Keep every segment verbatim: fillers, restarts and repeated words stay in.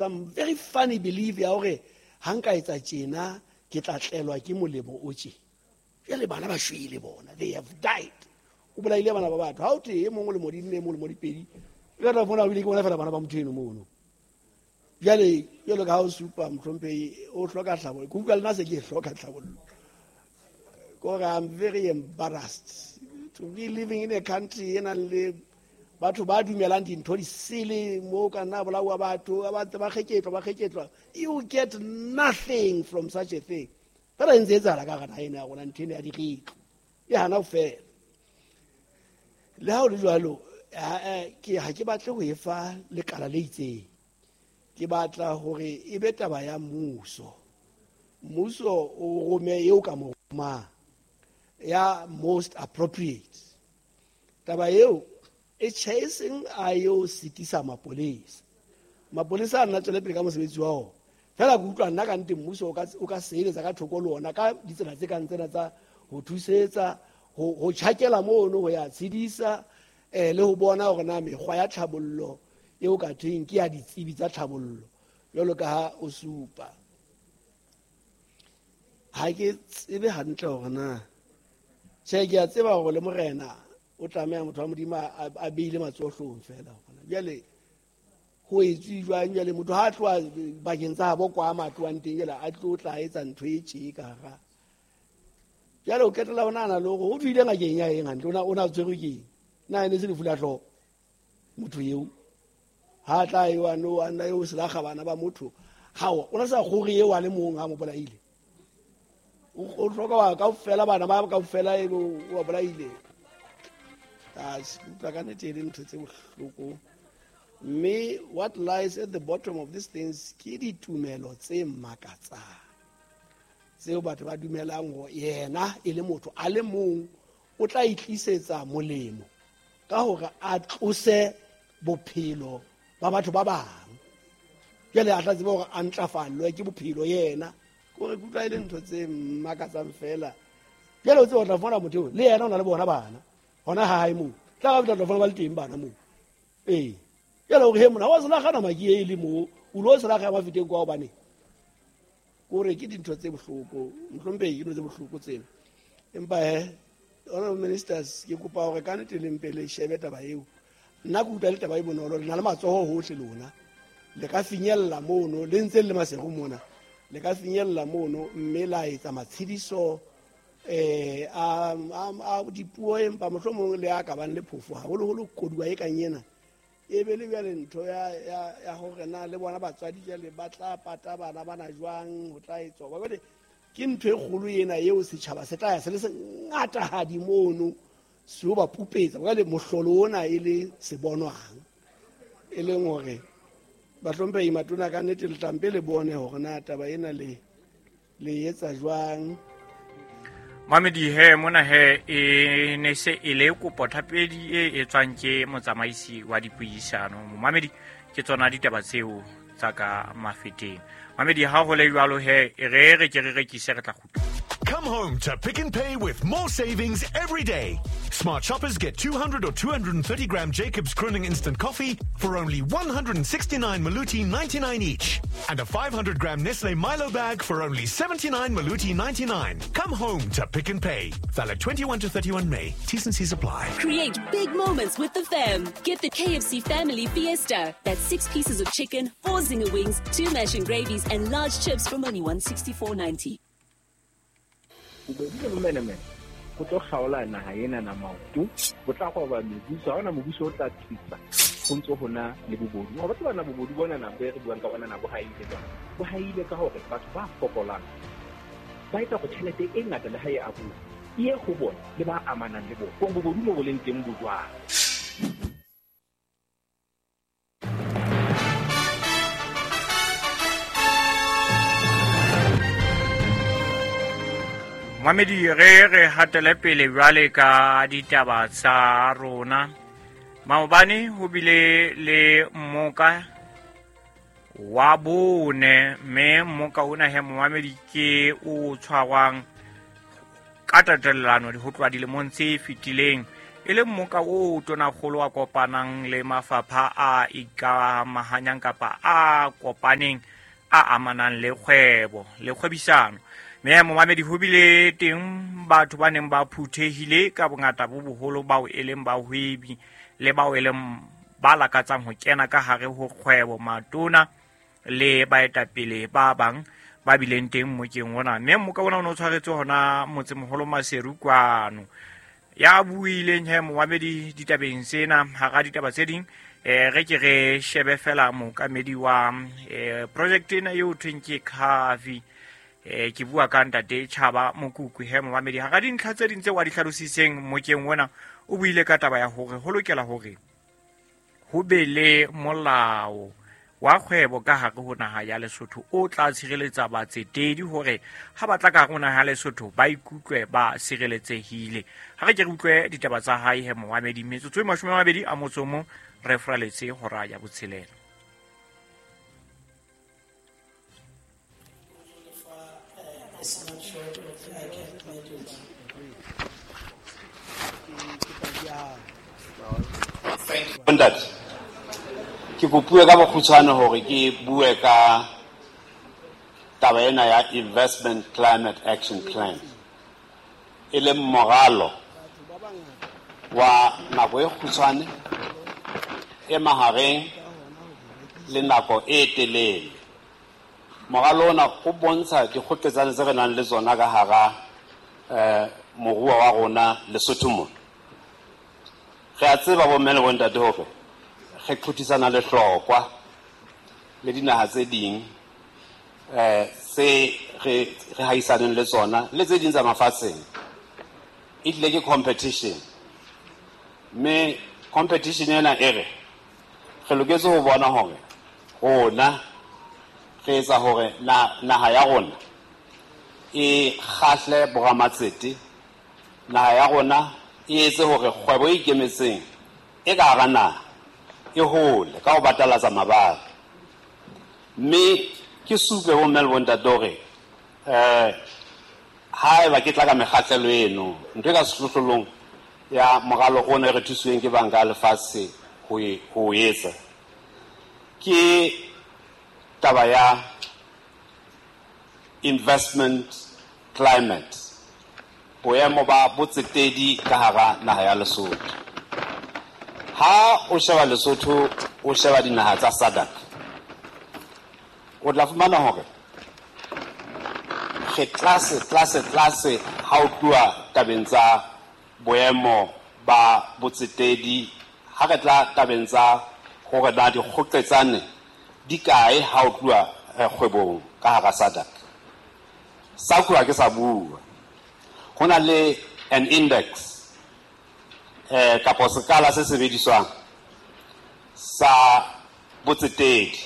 Some very funny belief ya hore ha nka etsa tjena ke tla tlelwa ke molemo o tje. Jwale bana ba shwele bona, they have died. O bolaile bana ba batho. Ha o te e mong o le modimo e mong o le modipedi. Ka tla bona o ile ke bona fela bana ba motho eno mono. Jwale jwalo ka ha o supa mohlomphehi o hloka tlhabollo. Ke utlwa le nna se ke hloka tlhabollo. Kore I'm very embarrassed to be living in a country e nang le batho ba dumelang dintho di sele mo ka nna bolawa batho ba ntse ba kgeketlwa ba kgeketlwa. You get nothing from such a thing. Fela e ntse e etsahala ka hara naha ena ya rona ntho ena ya diretlo e hana ho fela. Le ha ho le jwalo, ke ha ke batle ho e fa lekala le itseng. Ke batla hore e be taba ya mmuso. Mmuso o rome eo ka mo romang ya most appropriate. Taba eo e tjhe e seng a yo sitisa mapolesa. Mapolesa a nna tswele pele ka mosebetsi wa ona. Fela ke utlwa nna ka nnete mmuso o ka o ka sebeletsa ka thoko le ona ka ditsela tse kang tsena tsa ho thusetsa, ho ho tjhakela mono ho ya tshedisa, eh le ho bona hore na mekgwa ya tlhabollo eo ka thweng ke ya ditsebi tsa tlhabollo jwalo ka ha o supa. Ha ke tsebe hantle hore na tjhe, ke a tseba hore le morena o tlameha motho wa Modimo a, a beile matsoho hloohong fela hona. Jwale ho etswe jwang jwale motho ha a tloha bakeng tsa habo kwa a tlohang teng jwale a tlo tla etsa ntho e tje ka hara. Jwale o qetella o nahana le hore ho tswile ngakeng ya eng hantle, o na o na tshwerwe ke eng? Na e ne se lefu la hlooho motho eo? Ha tla eo a no a nna eo selakga bana ba motho. Hao, o na sa kgore eo a le mong ha mo bolaile. O hloka wa kaofela bana ba kaofela ebe o ba bolaile. Ah, utlwa ka nnete e le ntho tse bohloko. Mme what lies at the bottom of these things ke ditumelo tse makatsang tseo batho ba dumelang hore yena e le motho a le mong o tla itlisetsa molemo ka hore a tlose bophelo ba batho ba bang. Jwale a tla tseba hore a ntlafallwe ke bophelo yena. Kore ke utlwa e le ntho tse makatsang fela. Jwale o tseba o tla fumana motho eo le yena o na le bona bana hona ha hae moo. Tla ba tla fumana ba le teng bana moo. Ee. Jwale hore he mona wa selakga nama ke e le moo, o lo selakga ya mafeteng kwa hobane. Kore ke dintho tse bohloko, mohlomphehi ke dintho tse bohloko tsena. Empa he, honorable ministers, ke kopa hore ka nnete le mpe le shebe taba eo. Nna ke utlwa le taba e bonolo, le na le matsoho hohle lona. Le ka finyella mono, le ntse le Maseru mona. Le ka finyella mono mme la etsa matshediso eh a a dipuo empa mohlomong le a ka bang le phofo haholoholo koduwa e kang ena. E be le jwale ntho ya ya ya hore na le bona batswadi jwale ba tla pata bana bana jwang ho tla etswa. Jwale ke ntho e kgolo ena eo setjhaba se tla ya se le se ngatahadi mono se o ba pupetsa. Jwale mohlolo ona e le se bonwang e leng hore bahlomphehi matona ka nnete le tlampe le bone hore na taba ena le le etsa jwang. Mamedi he mona he e ne se e le kopo thapedi e etswang ke motsamaisi wa dipuisano. Mamedi ke tsona ditaba tseo tsa ka Mafeteng. Mamedi ha ho le jwalo he e re re ke re rekise re tla kgutla. Come home to Pick n Pay with more savings every day. Smart shoppers get two hundred or two hundred thirty gram Jacobs Crooning Instant Coffee for only one hundred sixty-nine Maluti ninety-nine each. And a five hundred gram Nestle Milo bag for only seventy-nine Maluti ninety-nine. Come home to Pick n Pay. Valid twenty-one to thirty-one May. T's and C's apply. Create big moments with the fam. Get the K F C Family Fiesta. That's six pieces of chicken, four zinger wings, two mash and gravies, and large chips from only one sixty-four ninety. Bobodu le bomenemene go tlo kgaola naha ena na maoto, bo tla goba mebuso, ha hona mobuso o tla tsitsa go ntse ho na le bobodu. Wa batho bana bobodu bona na bo re buang ka bona na bo haile jwang? Bo haile ka hore batho ba fokolang ba etsa go tjhelete e ngata le ha e abuwa e ye go bona le ba amanang le bona. Kong bobodu mo bo leng teng bo jwang? Mamedi re re hatele pele jwale ka ditaba tsa rona. Maobane ho bile le mmoka wa bone, mme mmoka ona he momamedi ke o tshwarwang ka tatellano ho tloha dilemong tse fetileng. e leng moka o tonakgolo a kopanang le mafapha a ikamahanyang kapa a kopaneng a amanang le kgwebo le kgwebisano. Mme momamedi ho bile teng batho ba neng ba phuthehile ka bongata bo boholo bao e leng bahwebi le bao e leng ba lakatsang ho kena ka hare ho kgwebo, matona le baetapele ba bang ba bileng teng mokeng ona. Mme moka ona o ne o tshwaretswe hona motsemoholo Maseru kwano. Ya buileng he momamedi ditabeng sena hara ditaba tse ding, eh re ke re shebe fela mookamedi wa eh project ena eo thweng ke Khafi. Eh ke bua ka ntate Chaba Mokuku he momamedi. Hara dintlha tse ding tse wa di hlalositseng mokeng ona, o buile ka taba ya hore ho lokela hore ho be le molao wa kgwebo ka hare ho naha ya Lesotho o tla tshireletsa batsetedi hore ha ba tla ka hare ho naha ya Lesotho ba ikutlwe ba sireletsehile. Ha re ke re utlwe ditaba tsa hae he momamedi. Metsotso e mashome a mabedi a motso o mong re fraletse hora ya botshelela. Ntate, ke kopuwe ka bokgutshwane hore ke bue ka taba ena ya Investment Climate Action Plan, e leng moralo wa nako e kgutshwane, e mahareng le nako e telele. Moralo ona o bontsha dikgoketsane tse re nang le tsona ka hara eh moruo wa rona Lesotho mona. Re a tseba bomme le bontate hore re qothisana le hlokwa le dinaha tse ding eh tse re re haisaneng le tsona le tse ding tsa mafatsheng. E tlile ke competition, mme competition ena e re re loketse ho bona hore rona re etsa hore naha ya rona e kgahle boramatsete, naha ya rona e etse hore kgwebo e ikemetseng e ka hara naha e hole ka ho batalatsa mabala. Mme ke supe bomme le bontate hore eh haeba ke tla ka mekgahlelo eno, ntho e ka sehlohlolong ya moralo ona e re thusitsweng ke banka ya lefatshe ho e ho etsa ke taba ya investment climate, boemo ba botsetedi ka hara naha ya Lesotho. Ha o sheba Lesotho, o sheba dinaha tsa SADC, o tla fumana hore re tlase tlase tlase ha o tluwa tabeng tsa boemo ba botsetedi, ha re tla tabeng tsa hore na dikgoqetsane di kae ha o tluwa kgwebong ka hara SADC. SACU ha ke sa bua, ho na le an index eh kapa sekala se sebediswang sa botsetedi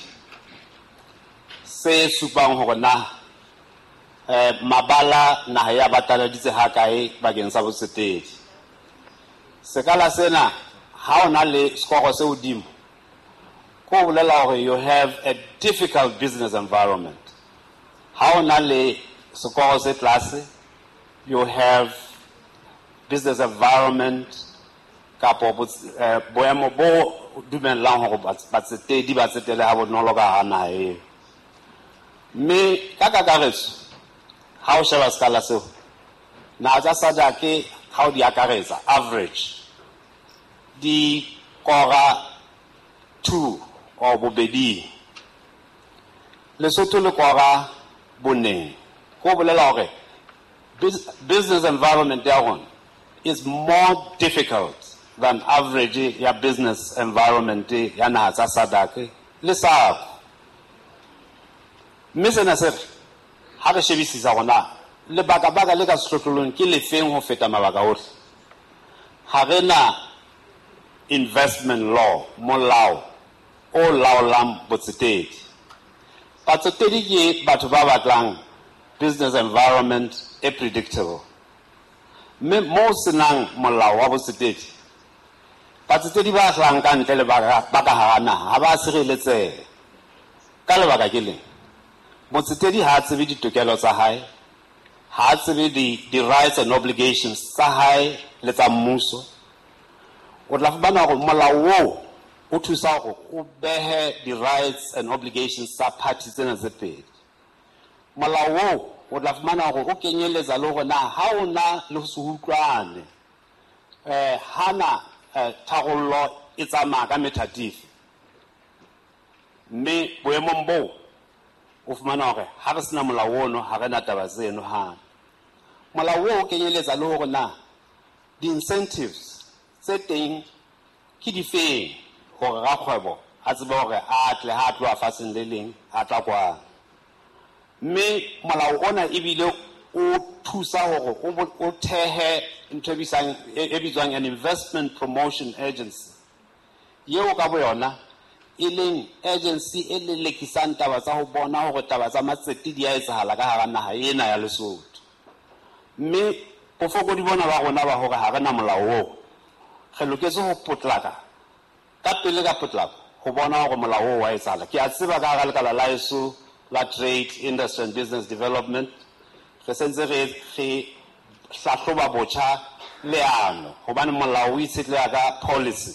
se supang hore na eh mabala naha ya bataladitse ha kae bakeng sa botsetedi. Sekala sena ha ona le score se hodimo, ko bolela hore you have a difficult business environment. Ha ona le score se tlase, you have business environment kapo boemo bo dumellang hore batsetedi ba tsetele ha bonolo ka hara naha eo. Mme ka kakaretso ha o sheba sekala seo, naha tsa SADC ha o di akaretsa average di kora two or bobedi, Lesotho le kora boneng. Ko bolela hore business environment ya rona is more difficult than average ya business environment ya naha tsa SADC le SACU. Mme sena se re ha re shebisisa rona lebaka-baka le ka sehlohlolong ke lefeng ho feta mabaka ohle. Ha re na investment law, molao o laolang botsetedi. Batsetedi ke batho ba batlang business environment e predictable. Mme mo senang molao wa botsetedi, batsetedi ba hlahang ka ntle le ba ka hara naha ha ba sireletsehe. Ka lebaka ke leng, motsetedi ha a tsebe ditokelo tsa hae, ha a tsebe di-rights and obligations tsa hae le tsa mmuso. O tla fumana hore molao oo o thusa hore o behe di-rights and obligations tsa party tsena tse pedi. Molao oo o tla fumana hore o kenyeletsa le hore na ha o na le ho se utlwane, eh hana tharollo e tsamaya ka methatifi. Mme boemong boo o fumana hore ha re sena molao ono ha re na taba tseno hape. Molao oo o kenyeletsa le hore na di-incentives tse teng ke difeng hore rakgwebo a tsebe hore a tle ha a tloha fatsheng le leng a tla kwano. Mme molao ona ebile o thusa hore o thehe ntho e bitswang, e bitswang an investment promotion agency, yeo ka boyona e leng agency e lelekisang taba tsa ho bona hore taba tsa matsete di a etsahala ka hara naha ena ya Lesotho. Mme bofokodi bona ba rona ba hore ha re na molao oo, re loketse ho potlaka ka pele ka potlako ho bona hore molao oo wa etsahala. Ke a tseba ka hara lekala la heso la Trade, Industry and Business Development re sentse re re hlahloba botjha leano, hobane molao o itshetleha ka policy.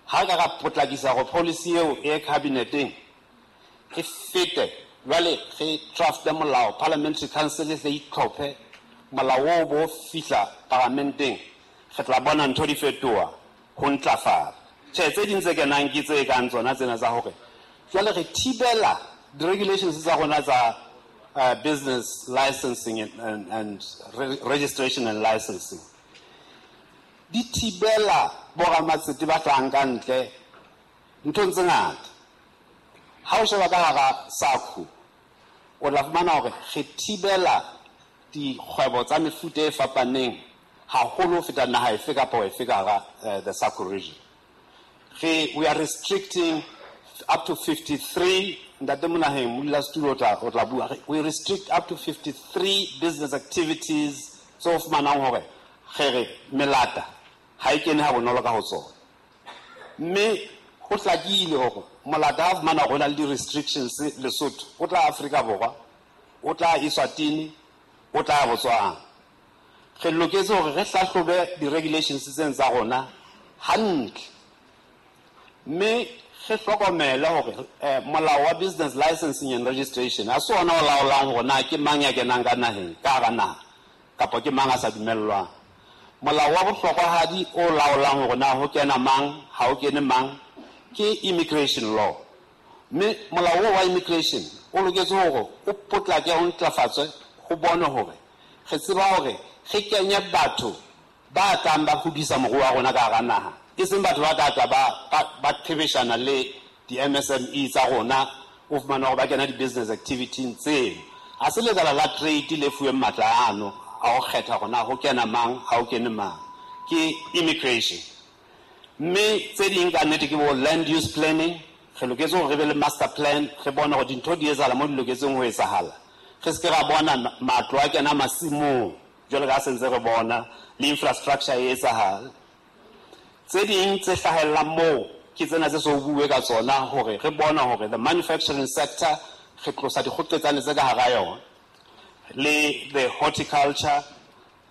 Ha ka ra potlakisa hore policy eo e cabineteng e fete, jwale re drafte molao, Parliamentary Council e tle itlhophe molao oo bo fihla paramenteng, re tla bona ntho di fetoha ho ntlafala. Tjhe, tse ding tse kenang ke tse kang tsona tsena tsa hore jwale re thibela di-regulations tsa rona tsa uh, business licensing and, and, and re registration and licensing. Di thibela boramatsete ba tlang ka ntle nthong tse ngata. Ha o sheba ka hara SACU, o tla fumana hore re thibela dikgwebo tsa mefuta e fapaneng haholo ho feta naha efe kapa efe ka hara uh, the SACU region. Re, we are restricting up to fifty-three, Ntate Monaheng, modulasetulo o tla o tla bua, we restrict up to fifty-three business activities tse o fumanang hore re re melata ha e kene ha bonolo ka ho tsona. Mme ho hlakile hore molata ha fumana hore ho na le di-restrictions Lesotho, o tla Afrika Borwa, o tla Eswatini, o tla Botswana. Re loketse hore re hlahlobe di-regulations tsena tsa rona hantle. Mme re hlokomele hore eh, molao wa business licensing and registration ha se ona o laolang hore na ke mang ya kenang ka naheng, ka hara naha, kapa ke mang a sa dumellwang. Molao wa bohlokwahadi o laolang hore na ho kena mang, ha ho kene mang, ke immigration law. Mme molao oo wa immigration o loketse hore o potlake o ntlafatswe ho bone hore re tseba hore re kenye batho ba tlang ba hodisa moruo wa rona ka hara naha, e seng batho ba tla tla ba ba qhebeshana le di-M S M E tsa rona, o fumana hore ba kena di-business activity tseno. Ha se lekala la trade le fuweng matla ano a ho kgetha hore na ho kena mang, ha ho kene mang, ke immigration. Mme tse ding ka nnete ke bo land use planning. Re loketse hore re be le master plan, re bone hore dintho di etsahala mo di loketseng ho etsahala. Re se ke ra bona matlo a kena masimong jwalo ka ha se ntse re bona le infrastructure e etsahala. Tse ding tse hlahellang moo ke tsena tse so bue ka tsona hore re bone hore the manufacturing sector re tlosa dikgoqetsane tse ka hara yona, le the horticulture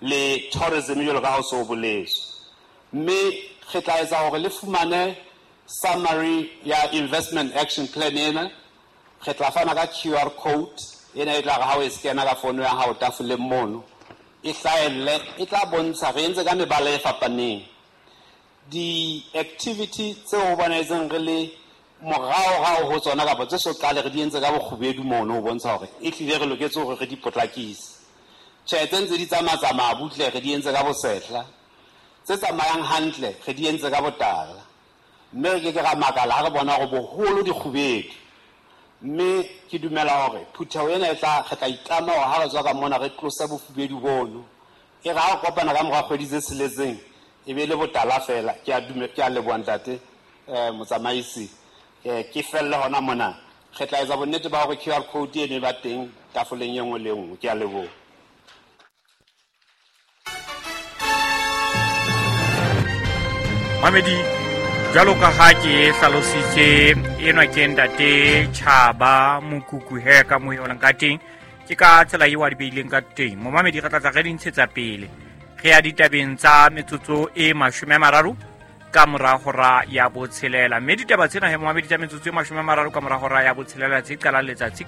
le tourism jwalo ka ha o so boletswe. Mme re tla etsa hore le fumane summary ya investment action plan ena. Re tla fana ka Q R code ena e tla re ha o e scanner ka fono ya hao tafoleng mono, e hlahelle, e tla bontsha re entse ka mebala e fapaneng di-activity tse ho bonahetseng re le moraorao ho tsona kapa tse so qale re di entse ka bokgubedu mono ho bontsha hore e hlile re loketse hore re di potlakise. Tjhe, tse ntse di tsamatsamaya butle re di entse ka bosehla, tse tsamayang hantle re di entse ka botala. Mme re ke ke ra makala ha re bona hore boholo dikgubedu. Mme ke dumela hore phutheho ena e tla re tla itlama hore ha re tswa ka mona re tlose bofubedu bono. E re ha re kopana ka mora kgwedi tse tsheletseng e be le botala fela. Ke a dume, ke a leboha ntate eh motsamaisi. Eh ke felle hona mona. Re tla etsa bonnete ba hore Q R code eno e ba teng tafoleng e nngwe le e nngwe. Ke a leboha. Mamedi, jwalo ka ha ke hlalositse, enwa ke ntate Tjhaba Mokuku he ka mo yona ka teng, ke ka tsela eo a di beileng ka teng. Momamedi, re tla tla re di ntshetsa pele. Re ya ditabeng tsa metsotso e mashome a mararo. Ka mora hora ya botshelela, mme ditaba tsena he momamedi tsa metsotso e mashome a mararo ka mora hora ya botshelela tse qalang letsatsi.